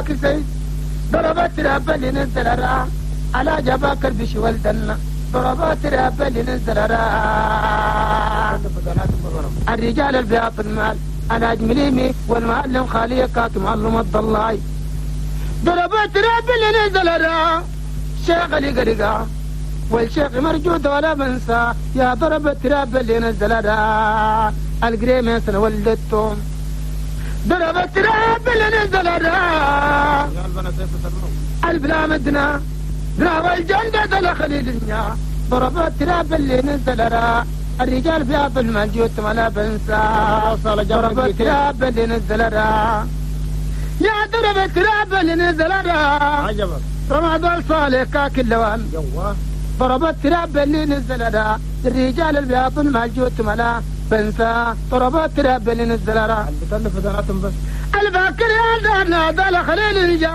كسي ضربت راب اللي نزل را على جباك البش والدنا ضربات راب اللي نزل را الرجال البياض المال على جمليمي والمعلم خالية كاك معلم الضلاي ضربات راب اللي نزل را شيخ اللي قرقا والشيخ مرجود ولا بنسى يا ضربت راب اللي نزل را القريمة سنة ولدتهم ضربت راب اللي نزل را البلا مدنا دنا والجندة لخليل النيا ضربت راب اللي نزل را الرجال بياض المال ولا بنسى ضربت راب اللي نزل را يا ضربت راب اللي نزل را رمضان صالح كاك اللوان ضربت راب اللي نزل را الرجال البياض المال ولا بنسى ضربت راب اللي نزل را الباكر يا دارنا دال خليل الجا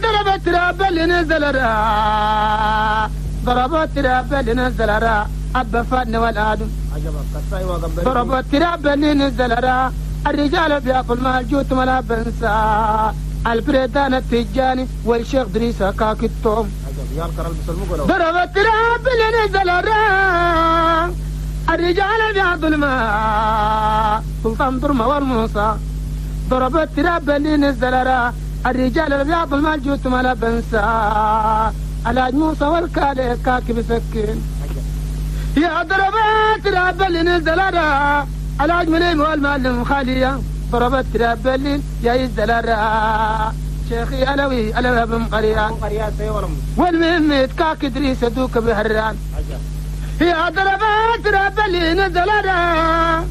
ضربت راب اللي نزل را ضربت راب اللي نزل را أبا فادنا والآدم ضربت راب اللي نزل را الرجال بياكل مال جوت ولا بنسى البريدان التجاني والشيخ دريسة كاك التوم ضربت راب اللي نزل را الرجال بياكل الماء سلطان درمة والموسى ضربت راب اللي نزل را الرجال الابيض المال جوت ما بنسى الحاج موسى والكالي كاك بسكين يا ضربت راب اللي نزل را الحاج مليم والمعلم خالية ضربت راب اللي يا يزل را شيخي علوي علوي بن قريان والمهم كاك ادريس دوك بهران يا ضربت راب اللي نزل را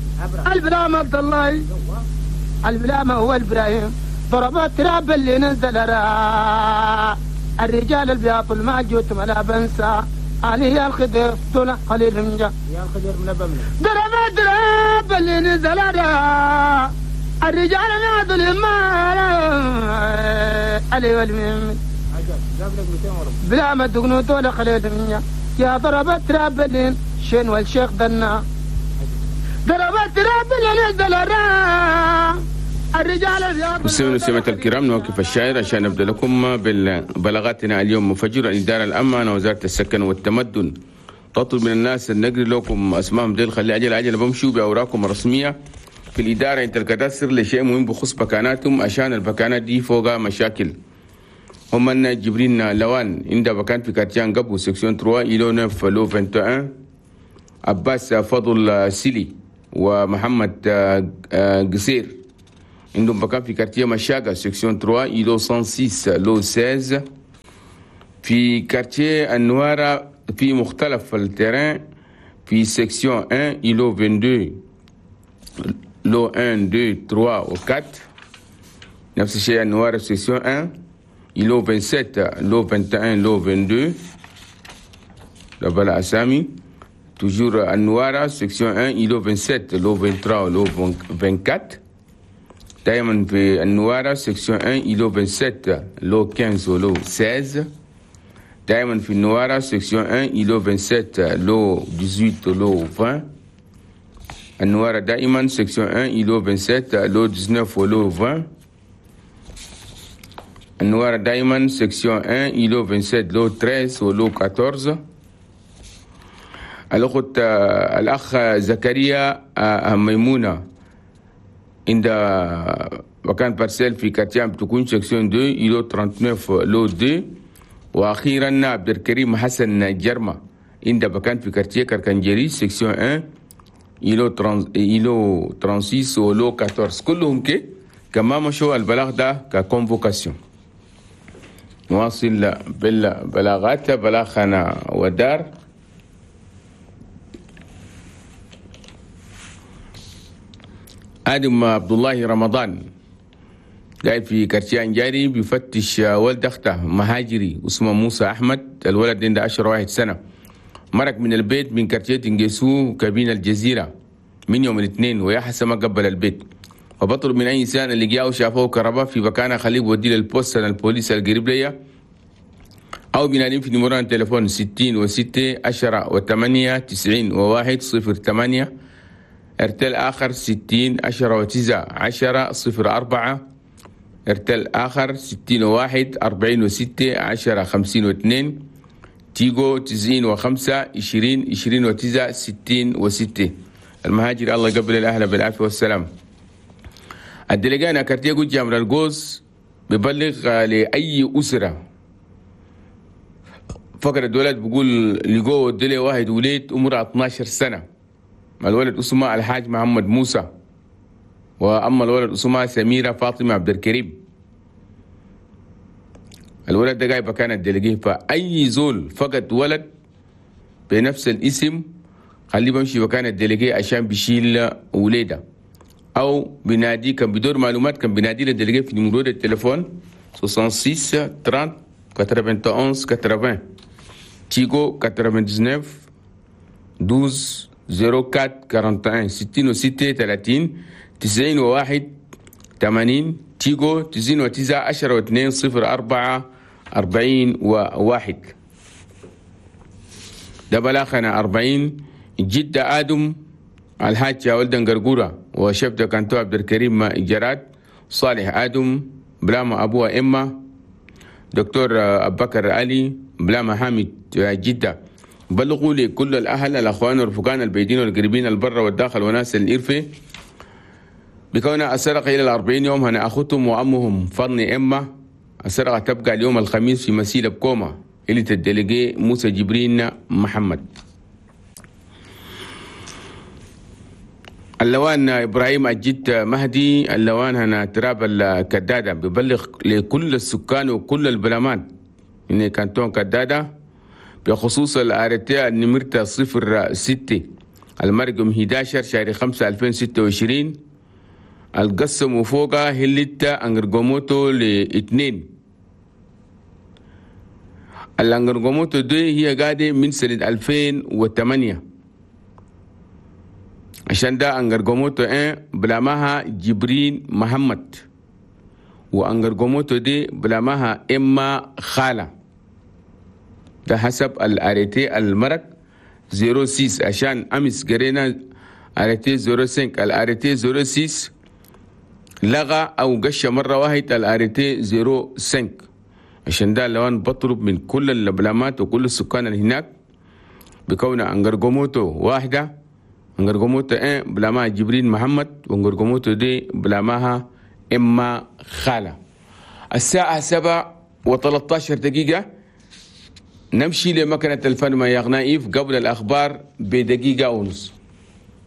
البلام عبد الله البلام هو ابراهيم ضربت راب اللي نزل را الرجال البياض المال ولا بنسى علي الخضر دون قليل من جا يا الخضر من بمن ضربت راب اللي نزل را الرجال البياض المال علي والمهم بلا ما دقنو دون قليل من جا يا ضربت راب اللي شين والشيخ دنا ضربت راب اللي نزل را مستمعينا ومستمعات الكرام، نوقف الشاعر عشان نبدا لكم بالبلاغاتنا اليوم مفجر. الإدارة الأمانة وزارة السكن والتمدن تطلب من الناس النقل لكم اسمائهم ديل خلي عجل عجل بمشوا باوراقهم الرسمية في الإدارة انت الكادستر لشيء مهم بخصوص بكاناتهم عشان البكانات دي فوقها مشاكل. هم أن جبرين لوان عند بكان في quartier قبو section 3 îlot 9 lot 21، عباس فضل سيلي ومحمد قصير عندهم بكان في quartier مشاقة section 3 îlot 106 lot 16، في quartier النوارة في مختلف ال terrain في section 1 îlot 22 lot 1 2 3 و 4، نفس الشيء النوارة section 1 îlot 27 lot 21 lot 22 لبلا أسامي. toujours النوارة section 1 îlot 27 lot 23 lot 24، دائما في النوارة section 1 îlot 27 lot 15 و lot 16، دائما في النوارة section 1 îlot 27 lot 18 و lot 20، النوارة دائما section 1 îlot 27 lot 19 و lot 20، النوارة دائما section 1 îlot 27 lot 13 و lot 14. الأخت الأخ زكريا ميمونة عند مكان parcelle في quartier بتكون section 2 îlot 39 lot 2. واخيرا عبد الكريم حسن جرمه عند مكان في quartier كركنجري section 1 îlot 36 و lot 14. كلهم كي كما مشوا البلاغ ده ك convocation. نواصل بالبلاغات. بلاغنا ودار آدم عبد الله رمضان قاعد في quartier أنجاري بيفتش ولد أخته مهاجري اسمه موسى أحمد، الولد عنده 10 سنة، مرق من البيت من quartier تنجسو كابين الجزيرة من يوم الاثنين ويا حسن ما قبل البيت. وبطلب من أي إنسان اللي جاء وشافوه كهرباء في مكانه خليه بوديه لل poste البوليس القريب ليا أو بنادم في نمرة التليفون 66 10 و8 90 و1 0 8. ارتل آخر 60 10 و9 10 0 4. ارتل آخر 61 46 10 52، تيجو 95 20 29 66. المهاجر الله قبل الأهل بالعافية والسلام. ال délégué هنا quartier جامر القوز ببلغ لأي أسرة فقر الولد، بقول لقوه دلي واحد وليد عمره 12 سنة، الولد اسمه الحاج محمد موسى، وأما الولد اسمها سميرة فاطمة عبد الكريم. الولد ده جاي بكان ال délégué، فأي زول فقد ولد بنفس الاسم خليه بمشي بكان ال délégué عشان بيشيل وليده، أو بنادي كان بدور معلومات كان بنادي لل délégué في numéro التليفون 66 30 91 80، تيجو 99 12 04 41، 66 30 91 80، تيجو 99 10 2 04 41. ده بلاخنا 40 جدة آدم الحاج ولدن قرقورة وشبته كانتو عبد الكريم جراد صالح آدم بلاما أبوها إما دكتور أبو بكر علي بلاما حامد جدة. بلغوا لكل الأهل الأخوان والرفقان البعيدين والقريبين البر والداخل وناس الإرفة بكون السرقة إلى 40 يوم هنا أخوتهم وأمهم فضني إما. السرقة تبقى اليوم الخميس في مسيلة بكوما إلي ال délégué موسى جبرين محمد. اللوان إبراهيم أجد مهدي اللوان هنا تراب الكدادة ببلغ لكل السكان وكل البلمان إن canton كدادة بخصوص ال arrêté النمرة 06 المرقم 11 شهر 5 2026 القسم وفوقها هلتا انغرغوموتو لاثنين. الانغرغوموتو دي هي قاعدة من سنة 2008، عشان ده انغرغوموتو 1 بلامها جبرين محمد، وانغرغوموتو دي بلامها إما خالة، ده حسب ال arrêté المرق 06، عشان أمس قرينا arrêté 05، ال arrêté 06 لغى أو قش مرة واحدة ال arrêté 05. عشان ده لوان بطلب من كل البلامات وكل السكان اللي هناك بكون انغرغوموتو واحدة، انغرغوموتو 1 بلامها جبرين محمد، وانغرغوموتو دي بلامها إما خالة. الساعة 7:13 نمشي لمكنة الفن ما يغنائف قبل الأخبار بدقيقة ونص.